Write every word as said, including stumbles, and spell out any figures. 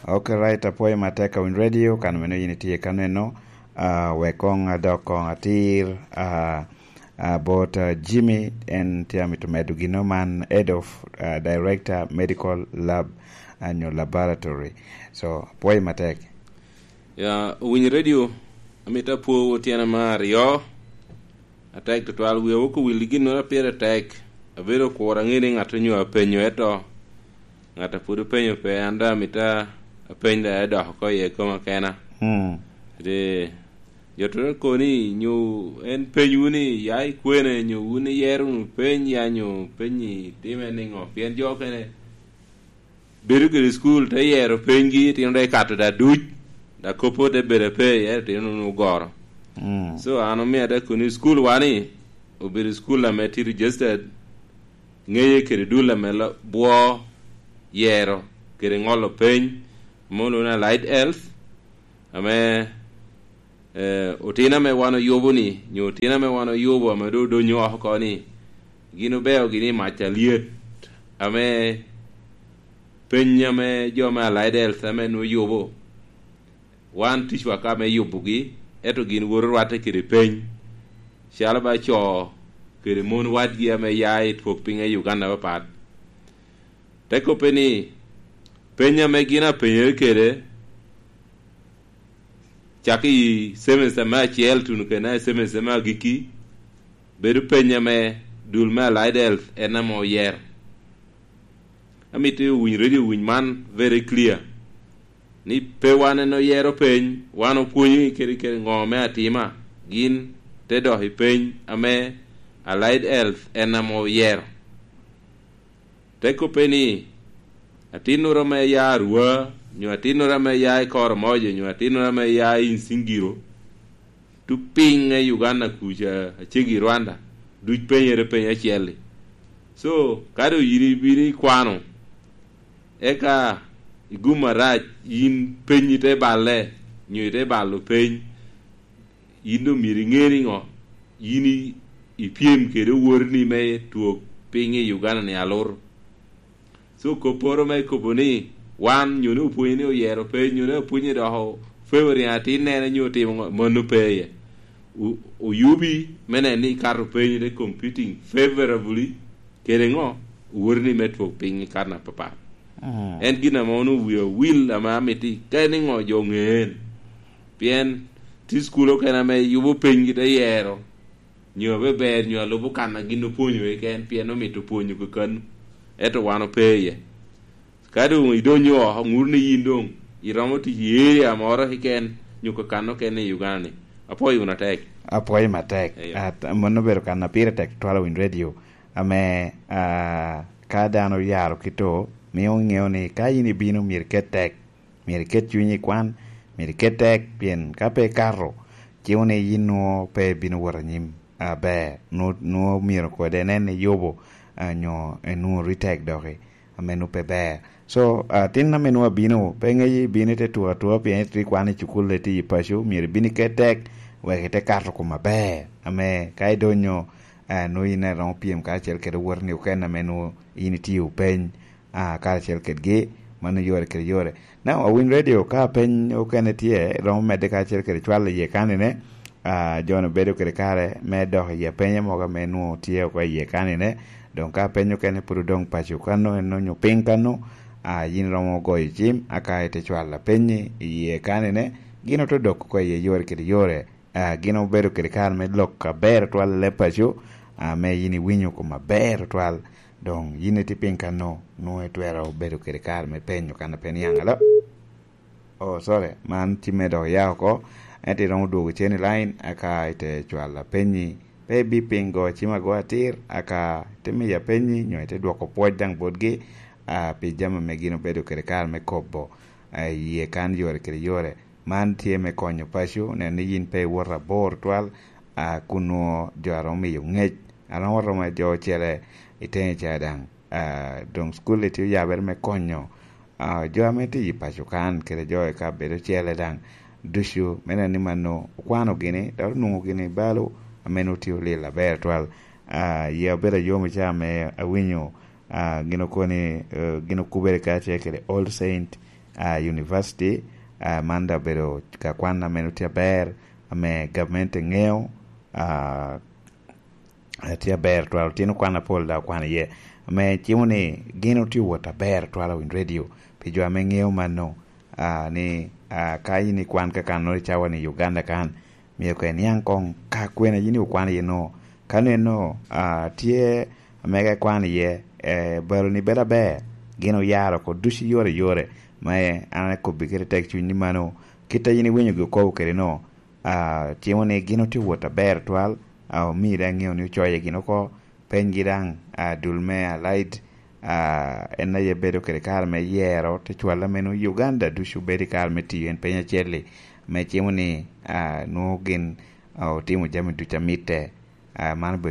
Ok, right, apwoyo matek a Winy Radio, kan meno yin itye ka neno, ah, wek koŋ adok koŋ atir, ah, ah, bot, ah, Jimmy, en tye amito medo gino man, head of, ah, director medical lab, ah, nyo laboratory. So, apwoyo matek. Ya, Winy Radio, amito apwowu tyena me aryo. Atek tutwal, wia wok owil i ginnoro a pire tek. Abedo okuro aŋe ni ŋat onyo apenyo, eto ŋat a pwod openyo pe, an daŋ amito apeny daŋ edok oko iye koma kena. Mm. Ri, jo to kono ni, nyo en peny wun ni, ya i kwene, nyo wun iyero wunu peny, ya nyo peny i time niŋo? Pien jo okene bedo kede cukul, te yero penygi, itino dok ikato da duc, da koppo te bedo ape, ento itino nwoŋo ogoro. Mm. So, an omio ada koni cukul wa ni, obedo cukul ame tye registered, ŋeye kede dul ame lo-, bwo, yero, kede ŋolo peny, ame olwoŋo ni Allied Health, ame eh, otino ame wan oyubo ni, nyo otino ame wan oyubo ame doŋ odonyo oko ni, gin obeo gini i mac alyet, ame peny ame jo me Allied Health ame nwoŋo yubo, wan ticwa ka me yubogi, ento gin woto rwatte kede peny, calo ba co kede mon wadgi ame ya i twok piny i Uganda apapat. Te kobbe ni, peny ame gin apenyere kede, cak i semester me acel tuno kede i semester me agikki, bedo peny ame dul me Allied Health en ame oyero. Amito owiny Radio, owiny man very clear, ni pe wan en oyero peny, wan opwonyo i kede, kede ŋo me atima, gin te dok i peny ame Allied Health en ame oyero. Te kobbe ni, atinnoro ame ya Arua, nyo atinnoro ame ya i Koromojo, nyo atinnoro ame ya i Nsingiro, tu piny i Uganda kuca, acegi i Rwanda, duc penyere peny acel-li. So, ka doŋ yin ibino ikwano, eka igum arac, yin peny ite balle, nyo ite balo peny, yin doŋ myero iŋe ni ŋo? Yin i-, ipyem kede owoteni me twok piny i Uganda-ni alur. So, kopporo me kobo ni wan, nyo ni opwonyo ni oyero peny, nyo ni opwonyo dok o-, favoring atinnere, nyo otimo ŋo, mano pe iye. O-, oyubi me neno ni ikato peny, ite competing favorably kede ŋo? Owoteni me twok piny i karne apapat. Mm. En gin ame onwoŋo wie owil, ame amito ika ni ŋo jo ŋe en. Pien tye cukul okene ame yubo penygi te yero, nyo abe ber, nyo alubo kan a gin opwonyo keken, pien omito pwonyo kekanu, ento wan ope iye. Ka doŋ idonyo oko, ŋut ni yin doŋ iromo tic i area moro keken, nyo kakan okene i Uganda-ni. Apwoyo wunu atek. Apwoyo matek. Eyo. At-, mano obedo kan a pire tek twal a Winy Radio, ame, ah, ka dano oyaro kito, mio ŋeo ni ka yin ibino, myero iket tek, myero iket cunyi i kwan, myero iket tek, pien ka pe ikato, cimo ni yin nwoŋo pe ibino wot anyim aber, nwo-, nwoŋo myero kodi inen ni iyubo, ah, nyo inwoŋo ori tek doki, ame nwoŋo pe ber. So, ah, tin ame nwoŋo abino, pe ŋeyo ibino ite tuko atuka, pien ite kwano i cukul, ite i paco, myero ibin iket tek, wek ite kato kom aber, ame ka idonyo, ah, nwoŋo yin iromo pyem karacel kede owoteni okene ame nwoŋo yin itio peny, ah, karacel kedgi, mano yore kede yore. Now, a Winy Radio, ka peny okene tye, romo medde karacel kede cwal iye kanine, ah, jo-nu bedo kede kare me dok i apenye mogo ame nwoŋo tye oko iye kanine. Doŋ ka peny okene pwod odoŋ paco kano, en onyo piny kano, ah, yin romo goyo cim, aka ite cwalo apenyi iye kanine, gin ote dok oko iye yore kede yore. Ah, gin obedo kede kare me lok aber twal i leb paco, ah, ame yin iwinyo kom aber twal. Doŋ yin itye piny kano, nwoŋo itwero bedo kede kare me penyo kan a pe niaŋ alo. Oh, sorry, man cimme dok oya oko. Ento iromo dwogo cen i line, aka ite cwalo apenyi. Pe ibipingo cim ago atir, aka ite miyo apenyi, nyo ite dwoko pwoc daŋ botgi, ah, pi jami ame gin obedo kede kare me kobo, ah, i yie kan yore kede yore. Man tye me konyo paco, neno ni yin pe iwoto abor twal, a, kun nwoŋo jo a romo miyo ŋec, a romo romo jo ocele i teŋe ca daŋ. A, doŋ cukul-li tye oyabere me konyo, a, jo ame tye i paco kan, kede jo i kabedo ocele daŋ, ducu, me neno ni mano okwano gini, dok onwoŋo gini balo, ame nwoŋo tye olil aber twal. A, yia obedo ayom i caa ame awinyo, a, gin okoni, eh, gin okubere kacel kede All Saint, ah, University, ah, man daŋ obedo ka kwan ame tye aber, ame gamente ŋeo, ah, ah, tye aber twal, otino kwan apol daŋ okwano iye. Ame cimo ni gin otye wot aber twal i radio, pi jo ame ŋeo mano, ah, ni, ah, ka in ikwan kakannoro i cawa ni Uganda kan, myero koŋ iniaŋ koŋ ka kwene yin okwano iye no. Ka neno, ah, tye amega ikwano iye, eh, baloni bedo aber, gin oyaro oko ducu i yore i yore, ma an akobbi kede tek cuny ni mano, kit a yin iwinyogi okobo kede no, ah, cimo ni gin otye wot aber twal, ah, omii daŋ ŋeo ni ocoye gin oko, penygi daŋ, ah, dul me Allied, ah, en aye bedo kede kare me yero, te cwal a meno Uganda ducu bedo i kare me tiyo en peny acel-li, me cimo ni, ah, nwoŋo gin, ah, otimo jami ducu a mitte, ah, man obedo